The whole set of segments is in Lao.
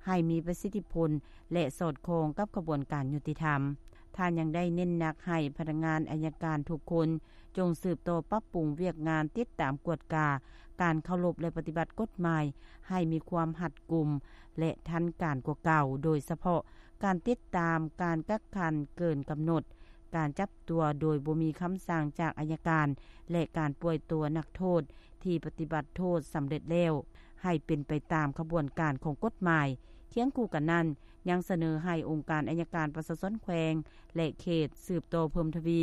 ໃຫ້ມີປະສິດທິຜົນ ແລະ ສອດຄ່ອງກັບຂະບວນການຍຸຕິທຳ. ທ່ານຍັງໄດ້ເນັ້ນໜັກໃຫ້ພະນັກງານອັຍການທຸກຄົນ ຈົ່ງສືບຕໍ່ປັບປຸງວຽກງານຕິດຕາມກວດກາການເຄົາລົບ ແລະ ປະຕິບັດກົດໝາຍໃຫ້ມີຄວາມຮັດກຸມ ແລະ ທັນການກວ່າເກົ່າ, ໂດຍສະເພາະການຕິດຕາມການກັກຂັງເກີນກຳນົດ, ການຈັບຕົວໂດຍບໍ່ມີຄຳສັ່ງຈາກອັຍການ ແລະ ການປ່ອຍຕົວນັກໂທດທີ່ປະຕິບັດໂທດສຳເລັດແລ້ວ ໃຫ້ເປັນໄປຕາມຂະບວນການຂອງກົດໝາຍ. ຄຽງຄູ່ກັນນັ້ນ, ຍັງສະເໜີໃຫ້ອົງການອັຍການປະຊາຊົນແຂວງ ແລະ ເຂດ ສືບຕໍ່ເພີ່ມທະວີ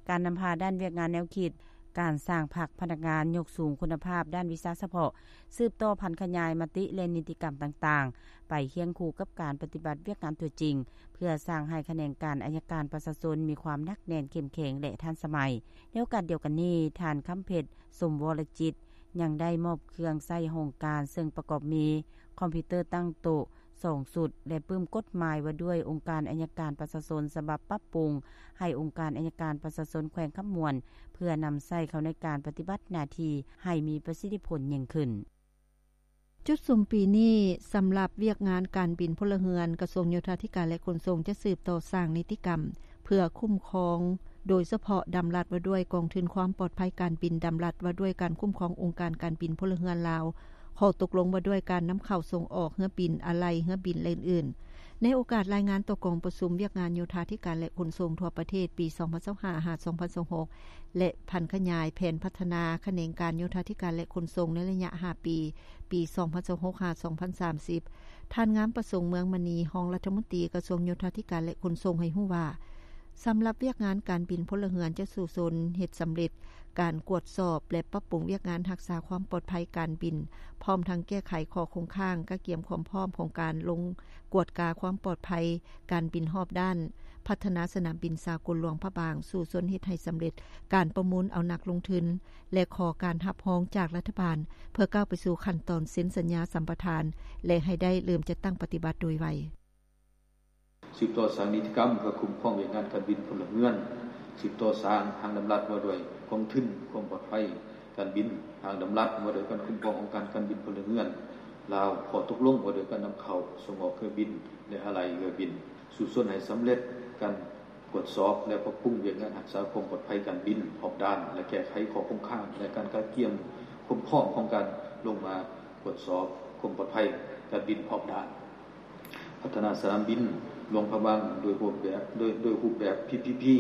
ການນຳພາດ້ານວຽກງານແນວຄິດ, ການສ້າງພັກພະນັກງານຍົກສູງຄຸນນະພາບດ້ານວິຊາສະເພາະ, ສືບຕໍ່ຜັນຂະຫຍາຍມະຕິ ແລະ ນິຕິກຳຕ່າງໆ ໄປຄຽງຄູ່ກັບການປະຕິບັດວຽກງານຕົວຈິງ, ເພື່ອສ້າງໃຫ້ຂະແໜງການອັຍການປະຊາຊົນມີຄວາມໜັກແໜ້ນເຂັ້ມແຂງ ແລະ ທັນສະໄໝ. ໃນໂອກາດດຽວກັນນີ້, ທ່ານ ຄຳເພັດ ສົມວໍລະຈິດ ຍັງໄດ້ມອບເຄື່ອງໃຊ້ຫ້ອງການ ເຊິ່ງປະກອບມີຄອມພິວເຕີຕັ້ງໂຕະ ສອງຊຸດ ແລະ ປຶ້ມກົດໝາຍວ່າດ້ວຍອົງການອັຍການປະຊາຊົນ ສະບັບປັບປຸງໃຫ້ອົງການອັຍການປະຊາຊົນແຂວງຄຳມ່ວນ ເພື່ອນຳໃຊ້ເຂົ້າໃນການປະຕິບັດໜ້າທີ່ໃຫ້ມີປະສິດທິຜົນຍິ່ງຂຶ້ນ. ຈຸດສຸມປີນີ້, ສຳລັບວຽກງານການບິນພົນລະເຮືອນ, ກະຊວງໂຍທາທິການ ແລະ ຂົນສົ່ງ ຈະສືບຕໍ່ສ້າງນິຕິກຳ ເພື່ອຄຸ້ມຄອງ, ໂດຍສະເພາະດຳລັດວ່າດ້ວຍກອງທຶນຄວາມປອດໄພການບິນ, ດຳລັດວ່າດ້ວຍການຄຸ້ມຄອງອົງການການບິນພົນລະເຮືອນລາວ, ຂໍ້ຕົກລົງວ່າດ້ວຍການນຳເຂົ້າສົ່ງອອກເຮືອບິນ, ອາໄຫຼ່ເຮືອບິນ ແລະ ອື່ນໆ. ໃນໂອກາດລາຍງານຕໍ່ກອງປະຊຸມວຽກງານໂຍທາທິການ ແລະ ຂົນສົ່ງທົ່ວປະເທດ ປີສອງພັນຊາວຫ້າ ຫາ ສອງພັນຊາວຫົກ ແລະ ຜັນຂະຫຍາຍແຜນພັດທະນາຂະແໜງການໂຍທາທິການ ແລະ ຂົນສົ່ງໃນໄລຍະຫ້າປີ, ປີສອງພັນຊາວຫົກ ຫາ ສອງພັນສາມສິບ, ທ່ານ ງາມປະສົງ ເມືອງມະນີ, ຮອງລັດຖະມົນຕີກະຊວງໂຍທາທິການ ແລະ ຂົນສົ່ງ ໃຫ້ຮູ້ວ່າ, ສຳລັບວຽກງານການບິນພົນລະເຮືອນຈະສູ້ຊົນເຮັດສຳເລັດການກວດສອບ ແລະ ປັບປຸງວຽກງານຮັກສາຄວາມປອດໄພການບິນ, ພ້ອມທັງແກ້ໄຂຂໍ້ຄົງຄ້າງ, ກະກຽມຄວາມພ້ອມຂອງການລົງກວດກາຄວາມປອດໄພການບິນຮອບດ້ານ, ພັດທະນາສະໜາມບິນສາກົນຫຼວງພະບາງ, ສູ້ຊົນເຮັດໃຫ້ສຳເລັດການປະມູນເອົານັກລົງທຶນ ແລະ ຂໍການຮັບຮອງຈາກລັດຖະບານ ເພື່ອກ້າວໄປສູ່ຂັ້ນຕອນເຊັນສັນຍາສຳປະທານ ແລະ ໃຫ້ໄດ້ເລີ່ມຈັດຕັ້ງປະຕິບັດໂດຍໄວ. ສືບຕໍ່ສ້າງນິຕິກຳເພື່ອຄຸ້ມຄອງວຽກງານການບິນພົນລະເຮືອນ, ສືບຕໍ່ສ້າງຮ່າງດຳລັດວ່າດ້ວຍກອງທຶນຄວາມປອດໄພການບິນ, ຮ່າງດຳລັດວ່າດ້ວຍການຄຸ້ມຄອງອົງການການບິນພົນລະເຮືອນລາວ, ຂໍ້ຕົກລົງວ່າດ້ວຍການນຳເຂົ້າສົ່ງອອກເຮືອບິນ ແລະ ອາໄຫຼ່ເຮືອບິນ, ສູ້ຊົນໃຫ້ສຳເລັດການກວດສອບ ແລະ ປັບປຸງວຽກງານຮັກສາຄວາມປອດໄພການບິນຮອບດ້ານ ແລະ ແກ້ໄຂຂໍ້ຄົງຄ້າງ ແລະ ການກະກຽມຄວາມພ້ອມຂອງການລົງມາກວດສອບຄວາມປອດໄພການບິນຮອບດ້ານ. ພັດທະນາສະໜາມບິນຫຼວງພະບາງໂດຍຮູບແບບ, ໂດຍ, ໂດຍຮູບແບບ ພີ ພີ ພີ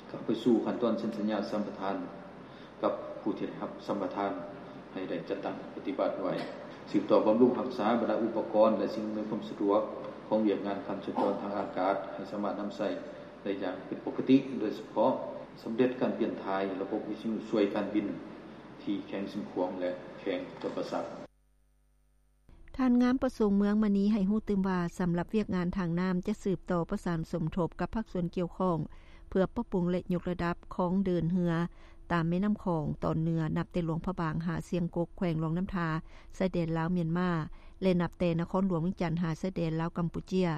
ເຂົ້າໄປສູ່ຂັ້ນຕອນເຊັນສັນຍາສຳປະທານກັບຜູ້ທີ່ໄດ້ຮັບສຳປະທານ ໃຫ້ໄດ້ຈັດຕັ້ງປະຕິບັດໄວ. ສືບຕໍ່ບຳລຸງຮັກສາບັນດາອຸປະກອນ ແລະ ສິ່ງອຳນວຍຄວາມສະດວກຂອງວຽກງານການສັນຈອນທາງອາກາດ ໃຫ້ສາມາດນຳໃຊ້ໄດ້ຢ່າງເປັນປົກກະຕິ, ໂດຍສະເພາະສຳເລັດການປ່ຽນຖ່າຍລະບົບວິທະຍຸຊ່ວຍການບິນທີ່ແຂວງຊຽງຂວາງ ແລະ ແຂວງຈຳປາສັກ. ທ່ານ ງາມປະສົງ ເມືອງມະນີ ໃຫ້ຮູ້ຕື່ມວ່າ, ສຳລັບວຽກງານທາງນ້ຳຈະສືບຕໍ່ປະສານສົມທົບກັບພາກສ່ວນກ່ຽວຂ້ອງ ເພື່ອປັບປຸງ ແລະ ຍົກລະດັບຄອງເດີນເຮືອຕາມແມ່ນ້ຳຂອງຕອນເໜືອ ນັບແຕ່ຫຼວງພະບາງຫາຊຽງກົກ ແຂວງຫຼວງນ້ຳທາ ຊາຍແດນລາວ-ມຽນມາ ແລະ ນັບແຕ່ນະຄອນຫຼວງວຽງຈັນຫາຊາຍແດນລາວ-ກຳປູເຈຍ,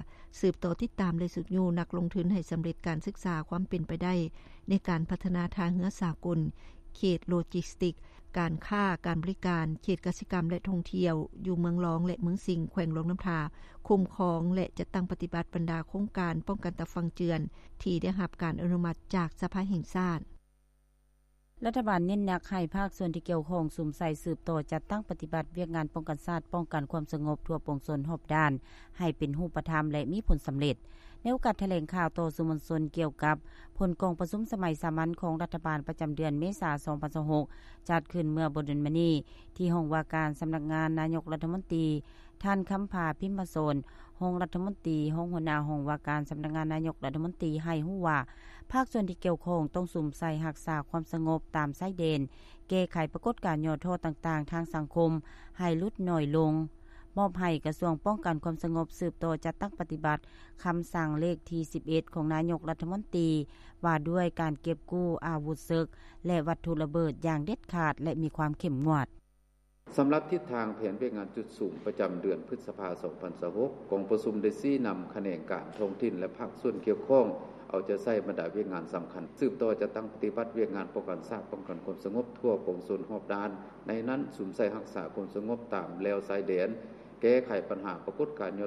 ສືບຕໍ່ຕິດຕາມ ແລະ ຊຸກຍູ້ນັກລົງທຶນໃຫ້ສຳເລັດການສຶກສາຄວາມເປັນໄປໄດ້ໃນການພັດທະນາທ່າເຮືອສາກົນ, ເຂດໂລຈິສຕິກ, ການຄ້າ, ການບໍລິການ, ເຂດກະສິກຳ ແລະ ທ່ອງທ່ຽວ ຢູ່ເມືອງລອງ ແລະ ເມືອງສິງ ແຂວງຫຼວງນ້ຳທາ, ຄຸ້ມຄອງ ແລະ ຈັດຕັ້ງປະຕິບັດບັນດາໂຄງການປ້ອງກັນຕາຝັ່ງເຈື່ອນ ທີ່ໄດ້ຮັບການອະນຸມັດຈາກສະພາແຫ່ງຊາດ. ລັດຖະບານເນັ້ນໜັກໃຫ້ພາກສ່ວນທີ່ກ່ຽວຂ້ອງສຸມໃສ່ສືບຕໍ່ຈັດຕັ້ງປະຕິບັດວຽກງານປ້ອງກັນຊາດ, ປ້ອງກັນຄວາມສະຫງົບທົ່ວປວງຊົນຮອບດ້ານ ໃຫ້ເປັນຮູບປະທຳ ແລະ ມີຜົນສຳເລັດ. ໃນໂອກາດຖະແຫຼງຂ່າວຕໍ່ສື່ມວນຊົນກ່ຽວກັບຜົນກອງປະຊຸມສະໄໝສາມັນຂອງລັດຖະບານປະຈຳເດືອນເມສາ ສອງພັນຊາວຫົກ ຈັດຂຶ້ນເມື່ອບໍ່ດົນມານີ້ ທີ່ຫ້ອງວ່າການສຳນັກງານນາຍົກລັດຖະມົນຕີ, ທ່ານ ຄຳພາ ພິມມະສອນ ຮອງລັດຖະມົນຕີ, ຮອງຫົວໜ້າຫ້ອງວ່າການສຳນັກງານນາຍົກລັດຖະມົນຕີ ໃຫ້ຮູ້ວ່າ ພາກສ່ວນທີ່ກ່ຽວຂ້ອງຕ້ອງສຸມໃສ່ຮັກສາຄວາມສະຫງົບຕາມຊາຍແດນ, ແກ້ໄຂປາກົດການຫຍໍ້ທໍ້ຕ່າງໆທາງສັງຄົມໃຫ້ຫຼຸດໜ້ອຍລົງ, ມອບໃຫ້ກະຊວງປ້ອງກັນຄວາມສະຫງົບສືບຕໍ່ຈັດຕັ້ງປະຕິບັດຄຳສັ່ງເລກທີສິບເອັດ ຂອງນາຍົກລັດຖະມົນຕີ ວ່າດ້ວຍການເກັບກູ້ອາວຸດເສິກ ແລະ ວັດຖຸລະເບີດຢ່າງເດັດຂາດ ແລະ ມີຄວາມເຂັ້ມງວດ. ສຳລັບທິດທາງແຜນວຽກງານຈຸດສຸມປະຈຳເດືອນພຶດສະພາ ສອງພັນຊາວຫົກ ກອງປະຊຸມໄດ້ຊີ້ນຳຂະແໜງການທ້ອງຖິ່ນ ແລະ ພາກສ່ວນກ່ຽວຂ້ອງ ເອົາໃຈໃສ່ບັນດາວຽກງານສຳຄັນ ສືບຕໍ່ຈັດຕັ້ງປະຕິບັດວຽກງານປ້ອງກັນຊາດ, ປ້ອງກັນຄວາມສະຫງົບທົ່ວປວງຊົນຮອບດ້ານ, ໃນນັ້ນສຸມໃສ່ຮັກສາຄວາມສະຫງົບຕາມແລວຊາຍແດນ, ແກ້ໄຂບັນຫາປາກົດການຫຍໍ້